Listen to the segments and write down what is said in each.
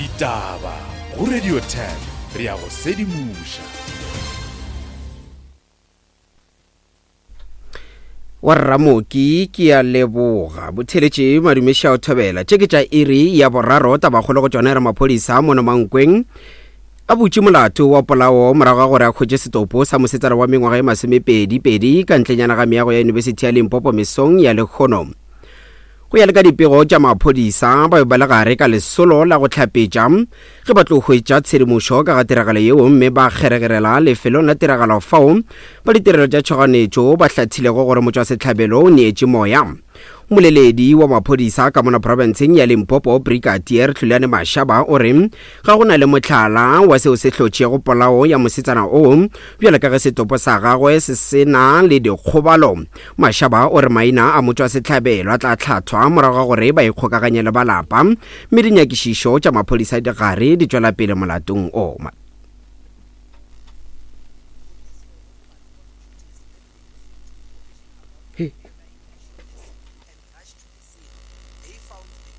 Ditaba go Radio 10 re a go sedimoša. Wa Rramoki ke a leboga. Botheletše madumeša o thobela. Tše ke tša iri ya boraro tabakgolo go tšona e re maphodisa mono Mankweng a butše molato wa polao morago ga gore a hwetše setopo sa mosetsana wa mengwaga e masomepedi pedi ka ntlenyana ga meago ya Yunibesithi ya Limpopo mesong ya lekgono. Go ya le ka dipego tša maphodisa, ba be ba le gare ka lesolo la go hlapetša ge ba tlo hwetša tshedimošo ka ga tiragalo yeo mme ba kgeregerela lefelong la tiragalo fao ba ditirelo tša tšhoganetšo ba hlathilego gore motšwasehlabelo o neetše moya. Mmoleledi wa maphodisa ka mona profenseng ya Limpopo, Brigadier Hlulani Mashaba o re ga go na le mohlala wa seo se hlotšego polao ya mosetsana oo bjalo ka ge setopo sa gagwe se se na le dikgobalo. Mashaba o re maina a motšwasehlabelo a tla hlathwa morago ga gore ba ikgokaganye le ba lapa mme dinyakišišo tša maphodisa di gare di tšwela pele molatong o.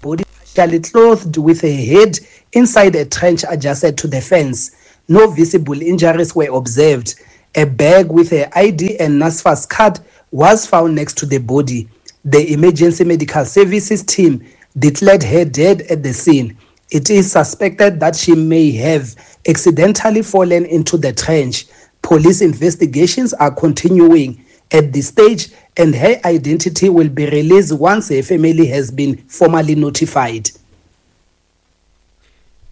Body partially clothed with her head inside a trench adjacent to the fence. No visible injuries were observed. A bag with her ID and NSFAS card was found next to the body. The emergency medical services team declared her dead at the scene. It is suspected that she may have accidentally fallen into the trench. Police investigations are continuing at this stage and her identity will be released once her family has been formally notified.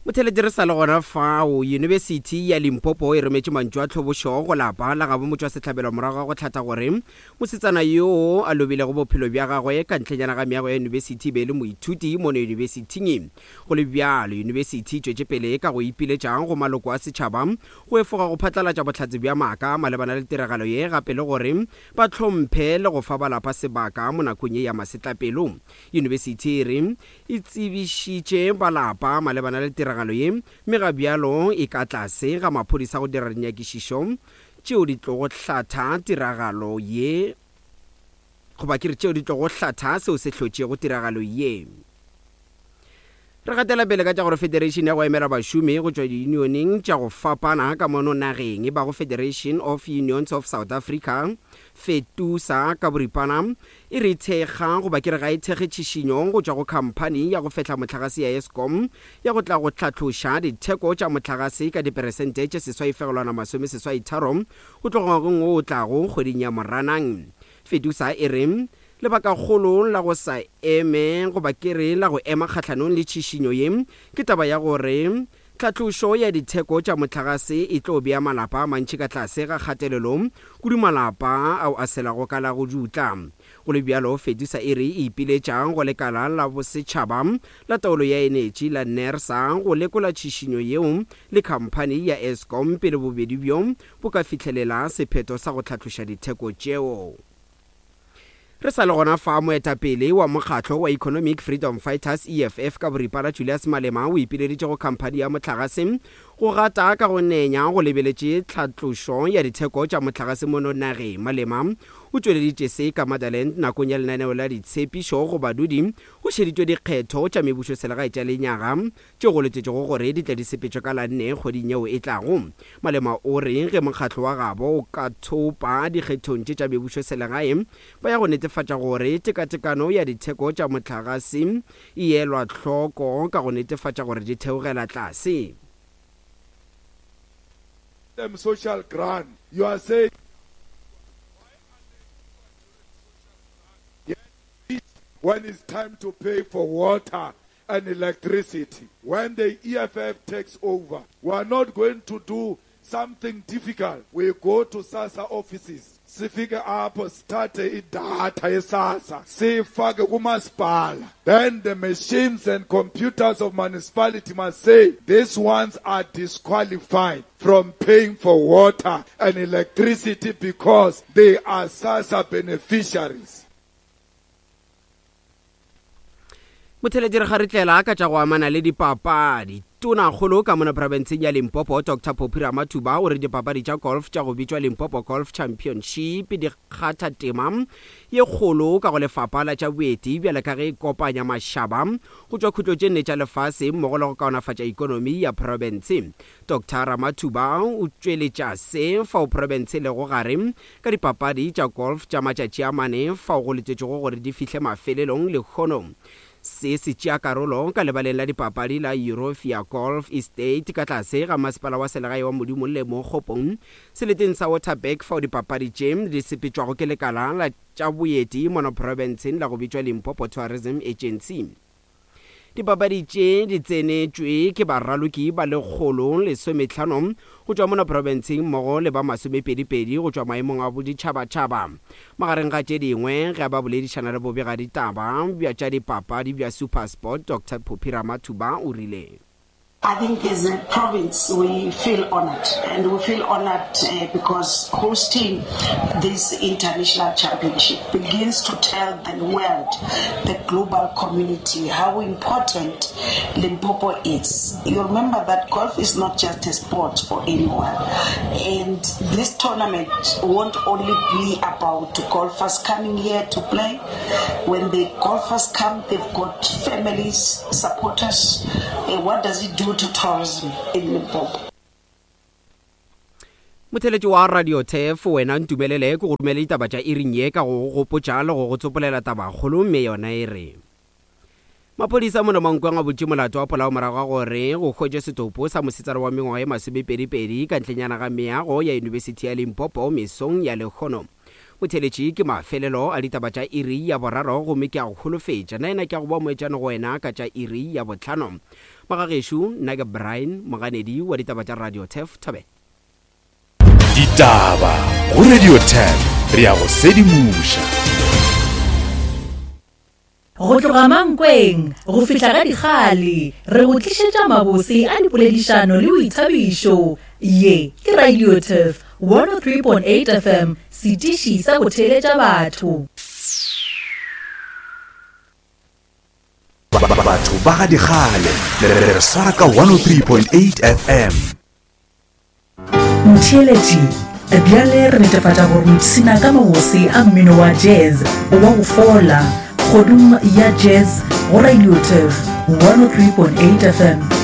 Motheletši re sa le gona fao, Yunibesithi ya Limpopo e rometše mantšu a tlhobošo go lapa la gabo motšwasehlabelo morago ga go hlatha gore mosetsana yoo a lobilego bophelo bja gagwe ka ntlenyana ga meago ya yunibesithi e be e le moithuti mono yunibesithing. Go le bjalo, yunibesithi e tšwetše pele ka go ipiletša go maloko a setšhaba go efoga go phatlalatša bohlatse bja maaka malebana le tiragalo ye gape le gore ba hlomphe le go fa ba lapa sebaka mo nakong ye ya masetlapelo. Yunibesithi e re e tsebišitše ba lapa malebana le tiragalo ye mme ga bjalo e ka tlase ga maphodisa go dira dinyakišišo tšeo di tlogo hlatha tiragalo ye goba ke re tšeo di tlogo hlatha seo se hlotšego tiragalo ye. Re gatela pele ka tša gore Federation ya go emela bašomi go tšwa diyunioneng tša go fapana ka mono nageng e bago Federation of Unions of South Africa, FETUSA, ka boripana, e re thekga goba ke re ga e thekge tšhišinyo go tšwa go khamphani ya go fehla mohlagase ya Eskom ya go tla go hlatloša ditheko tša mohlagase ka diperesente tše 8.83 go tloga ngwageng wo o tlago kgweding ya Moranang. FETUSA e re Lebakakgolo la go sa eme goba ke re la go ema kgahlanong le tšhišinyo ye ke taba ya gore tlhatlošo ya ditheko tša mohlagase e tlo bea malapa a mantši ka tlase ga kgatelelo, kudu malapa ao a selago ka la go dutla. Go le bjalo, FEDUSA e re e ipiletša go lekala la bosetšhaba la taolo ya enetši la NERSA go lekola tšhišinyo yeo le khamphani ya Eskom pele bobedi bjo bo ka fihlelela sephetho sa go hlatloša ditheko tšeo. Re sa le gona fa, moetapele wa mokgatlo wa Economic Freedom Fighters, EFF, ka boripana Julius Malema o ipileditše go khamphani ya mohlagase go gata ka go nenya go lebeletše tlhatlošo ya ditheko tša mohlagase mono nageng. Malema o tšweleditše se ka Motherland nakong ya lenaneo la ditshepišo go badudi go šeditšwe dikgetho tša mebušoselegae tša lenyaga tšeo go letetšwego gore di tle di sepetšwe ka la nne kgweding yeo e tlago. Malema o re ge mokgatlo wa gabo o ka thopa dikgethong tše tša mebušoselegae, ba ya go netefatša gore tekatekano ya ditheko tša mohlagase e elwa hloko ka go netefatša gore di theogela tlase. them social grant you are saying when it's time to pay for water and electricity. When the EFF takes over, we are not going to do something difficult. We go to SASSA offices, sifike apho sithathe idatha yeSASSA siyifake kumasipala. Then the machines and computers of municipality must say these ones are disqualified from paying for water and electricity because they are SASSA beneficiaries. Motheletši re kgaritlela ka tša go amana le dipapadi. Tonakgolo ka mona profenseng ya Limpopo, Doctor Phophi Ramathuba o re dipapadi tša golf tša go bitšwa Limpopo Golf Championship di kgatha tema ye kgolo ka go lefapha la tša boeti bjale ka ge e kopanya mašaba go tšwa khutlo tše nne tša lefase mmogo le go kaonafatša ikonomi ya profense. Doctor Ramathuba o tšweletša se fao profense e lego gare ka dipapadi tša golf tša matšatši a mane fao go letetšwego gore di fihle mafelelong lehono. Se se tšea karolo ka lebaleng la dipapadi la Eurofia Golf Estate ka tlase ga masepala wa selegae wa Modimolle mo Kgopong, seleteng sa Waterberg fao dipapadi tše di sepetšwago ke lekala la tša boeti mono profenseng la go bitšwa Limpopo Tourism Agency. Dipapadi tše di tsenetšwe ke baraloki ba 115 go tšwa mona profenseng mmogo le ba masomepedipedi go tšwa maemong a boditšhabatšhaba. Magareng ga tše dingwe, ge ba boledišana le bobegaditaba bja tša dipapadi bja SuperSport, Doctor Phophi Ramathuba o rile. I think as a province we feel honoured and we feel honoured because hosting this international championship begins to tell the world, the global community how important Limpopo is. You remember that golf is not just a sport for anyone and this tournament won't only be about golfers coming here to play. When the golfers come, they've got families, supporters. Uh, what does it do to tourism in Limpopo? Motheletši wa Radio Turf, wena ntumelele ke go romele ditaba tša iring ye ka go go gopotša le go go tsopolela tabakgolo mme yona e re. Maphodisa mona Mankweng a butše molato wa polao morago ga gore go hwetšwe setopo sa mosetsana wa mengwaga ye masomepedipedi ka ntlenyana ga meago ya Yunibesithi ya Limpopo mesong ya lehono. Motheeletši, ke mafelelo a ditaba tša iri ya boraro gomme ke a go holofetša nnaena ke a go boa moetšane go wena ka tša iri ya bohlano. Magagešo, nna ke Brian Moganedi wa ditaba tša Radio Turf Thobela. Ditaba go Radio Turf, re a go sedimoša. Go tloga Mankweng go fihla ga Dikgale, re go tlišetša mabose a dipoledišano le boithabišo. Ye ke Radio Turf 103.8 FM, setiši sa go theeletša batho. Batho ba ga Dikgale, le re swara ka 103.8 FM. Motheeletši, Bjale re netefatša gore o ipshina ka mabose a mmino wa jazz wa go fola kgodung ya jazz go Radio Turf 103.8 FM.